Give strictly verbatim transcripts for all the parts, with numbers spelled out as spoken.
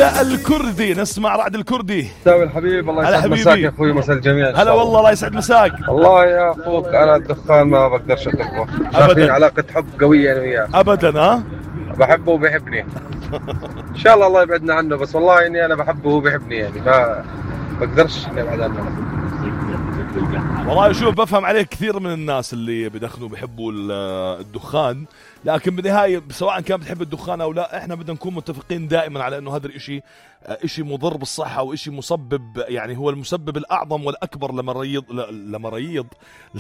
الكردي، نسمع رعد الكردي. تاوي الحبيب، الله يسعد مساك يا اخوي، مساء الجميع. هلا والله، الله يسعد مساك. والله يا اخوك انا الدخان ما بقدرش اتركه، شايفين علاقة حب قوية انا وياه ابدا. ها بحبه وبيحبني ان شاء الله الله يبعدنا عنه، بس والله اني انا بحبه وهو بيحبني، يعني ما بقدرش ابعد عنه. والله شوف، بفهم عليه كثير من الناس اللي بدخنوا بيحبوا الدخان، لكن بالنهاية سواء كان بتحب الدخان او لا، احنا بدنا نكون متفقين دائما على انه هذا الاشي اشي مضر بالصحة واشي مسبب، يعني هو المسبب الاعظم والاكبر لمريض لمريض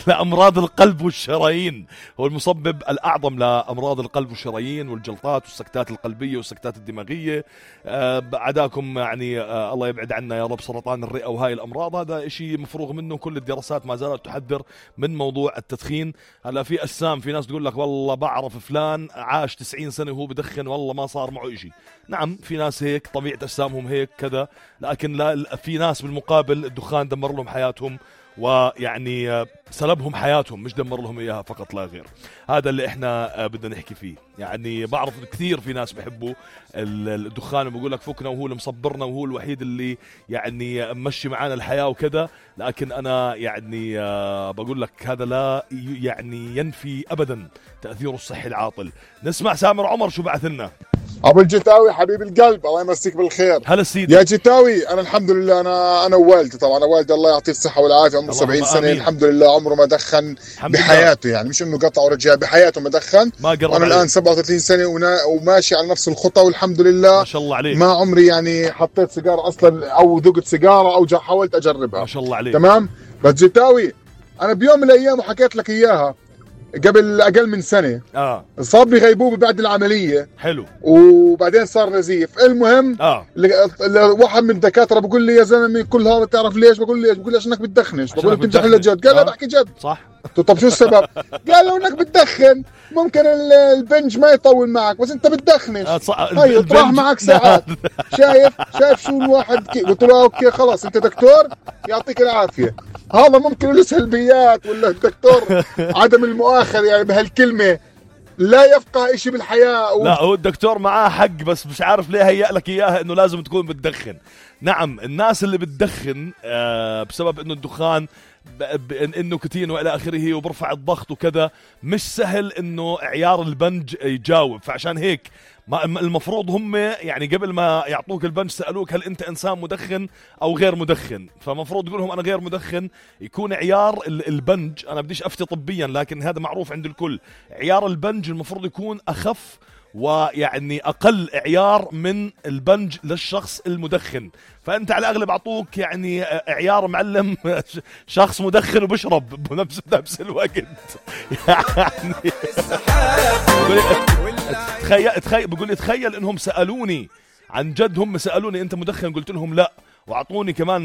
لامراض القلب والشرايين. هو المسبب الاعظم لامراض القلب والشرايين والجلطات والسكتات القلبية والسكتات الدماغية. آه عداكم يعني آه الله يبعد عنا يا رب سرطان الرئة وهاي الامراض. هذا اشي مفروغ منه، كل الدراسات ما زالت تحذر من موضوع التدخين. هلا في اجسام، في ناس تقول لك والله بعرف فلان عاش تسعين سنة وهو بدخن والله ما صار معه اشي. نعم في ناس هيك، طبيعة اجسامهم هيك كذا، لكن لا، في ناس بالمقابل الدخان دمر لهم حياتهم، ويعني سلبهم حياتهم، مش دمر لهم اياها فقط لا غير. هذا اللي احنا بدنا نحكي فيه. يعني بعرف كثير في ناس بيحبوا الدخان وبقول لك فكنا وهو اللي مصبرنا وهو الوحيد اللي يعني مشي معانا الحياة وكذا، لكن انا يعني بقول لك هذا لا يعني ينفي ابدا تأثيره الصحي العاطل. نسمع سامر عمر شو بعث لنا. ابو الجتاوي حبيب القلب، الله يمسيك بالخير. هلا سيدي يا جتاوي. انا الحمد لله، انا انا ووالدي طبعا، والدي الله يعطيه الصحه والعافيه، عمره سبعين سنه الحمد لله، عمره ما دخن بحياته لله. يعني مش انه قطع ورجع، بحياته ما دخن. ما انا الان سبعة وثلاثين سنه وماشي على نفس الخطى والحمد لله، ما شاء الله عليك. ما عمري يعني حطيت سيجاره اصلا او ذقت سيجاره او حاولت اجربها، ما شاء الله عليك. تمام. بس جتاوي انا بيوم من الايام وحكيت لك اياها قبل اقل من سنه، اه صاب لي غيبوبه بعد العمليه. حلو. وبعدين صار نزيف. المهم اه واحد من الدكاتره بقول لي يا زلمه كل هذا بتعرف ليش؟ بقول لي بقول لي عشانك بتدخنش. بقول له بتمزح ولا جد؟ قال لا بحكي جد. صح. طب شو السبب؟ قال لو انك بتدخن ممكن البنج ما يطول معك، بس انت بتدخنش هي يطرح معك ساعات. شايف شايف شو الواحد كي. قلت له اوكي خلاص انت دكتور يعطيك العافيه، هذا ممكن له سلبيات، ولا الدكتور عدم المؤاخذه يعني بهالكلمه لا يفقه اشي بالحياة و... لا هو الدكتور معاه حق، بس مش عارف ليه هيأ لك اياها انه لازم تكون بتدخن. نعم الناس اللي بتدخن آه بسبب انه الدخان النيكوتين والى اخره وبرفع الضغط وكذا، مش سهل انه عيار البنج يجاوب. فعشان هيك ما المفروض هم يعني قبل ما يعطوك البنج سألوك هل انت انسان مدخن او غير مدخن، فمفروض تقول لهم انا غير مدخن. يكون عيار البنج، انا بديش افتي طبيا لكن هذا معروف عند الكل، عيار البنج المفروض يكون اخف ويعني اقل عيار من البنج للشخص المدخن. فانت على الاغلب اعطوك يعني عيار معلم شخص مدخن وبشرب بنفس نفس الوقت. يعني تخيل تخيل بقول لي تخيل انهم سالوني عن جد، هم سالوني انت مدخن؟ قلت لهم لا، واعطوني كمان